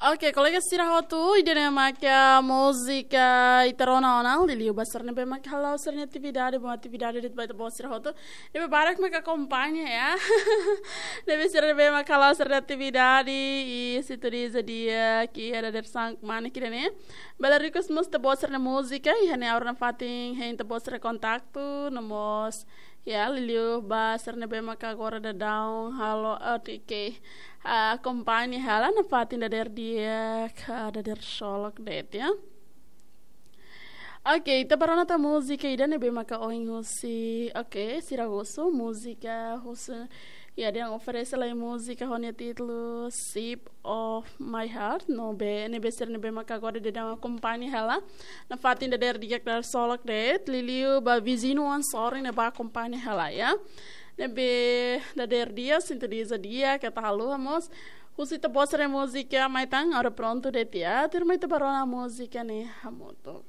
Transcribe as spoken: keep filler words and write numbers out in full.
Oke, kolega sira hotu, ida-ne'e maka múzika ita rona ona, liuliu ba sira ne'ebé maka hala'o sira-nia atividade, bom atividade de'it ba ita-boot sira hotu. Ne'ebé barak maka akompaña, ya. Ne'ebé sira ne'ebé maka hala'o sira-nia atividade, i sintoniza di'ak iha dadeer-saan kmanek ida-ne'e. Bele request mós ita-boot sira-nia múzika, iha ne'e ha'u hanoin nafatin hein ita-boot sira-nia kontaktu, no mós, ya, liuliu ba sira ne'ebé maka agora daudaun halo, eh, ke, ah, akompaña hela nafatin dadeer di'ak, ah, dadeer solok de'it, ya. Oke, ita bá rona tan múzika ida ne'ebé maka ohin husi, oke, sira husu múzika husu, ya, dehan oferese lai múzika ho nia títulu Shape of My Heart, no be, ne'ebé sira ne'ebé maka agora daudaun akompaña hela nafatin dadeer di'ak dadeer solok de'it, liuliu ba viziñu oan sorin ne'ebá akompaña hela, ya. Ne'ebé dadeer di'ak, sintoniza di'ak, keta haluha mós husu ita-boot sira-nia múzika mai tan, agora prontu de'it, ya. Tuirmai ita bá rona múzika ne'e hamutuk.